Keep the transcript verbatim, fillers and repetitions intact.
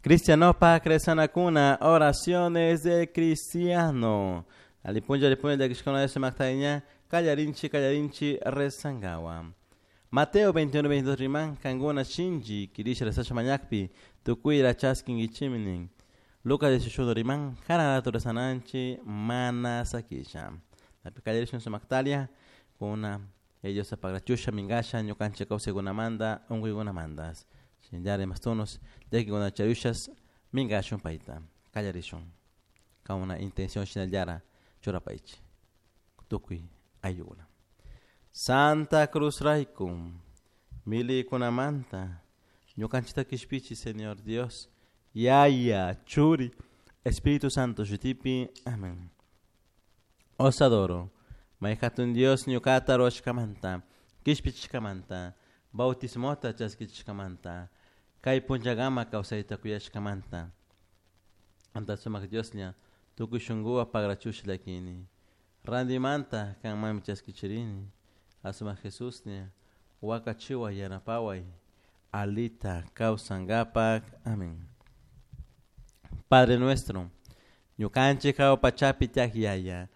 Cristianopak rezanakuna, oraciones de cristiano. Alipunlla alipunlla llakishkuna sumaktaña kallarinchi kallarinchi rezangawa. Mateo veintiuno veintidós riman, kankuna shinchi kirisha rezasha mañakpi tukuyra chaskinkichimi nin. Lucas dieciocho riman, karan rato rezananchi mana sakisha. Napi kallarishun sumaktalia kuna ellos apagrachusha mingasha ñukanchik kawsaykunamanta unkuykunamanta. Shinllari mastunos llakikuna charushas minkashun payta kallarishun kauna intención shinallara churapaychi tukuy ayllukuna. Santa Cruz rayku milikunamanta ñukanchikta kishpichi, Señor Dios, Yaya, Churi, Espíritu Santo shutipi. Amén. Os adoro. May hatun Dios ñukata ruwashkamanta, kishpichishkamanta, bautismota chaskichishkamanta, kay punllakama kawsayta kuyashkamanta. Anta sumak Dioslla, tukuy shunkuwan pagrachusha llakini. Randimanta kanmanmi chaskichirini. Asumak Jesuslla, wakachiway yanapaway, alita kawsankapak. Amén. Padre nuestro, ñukanchik hawa pachapi tiyak Yaya,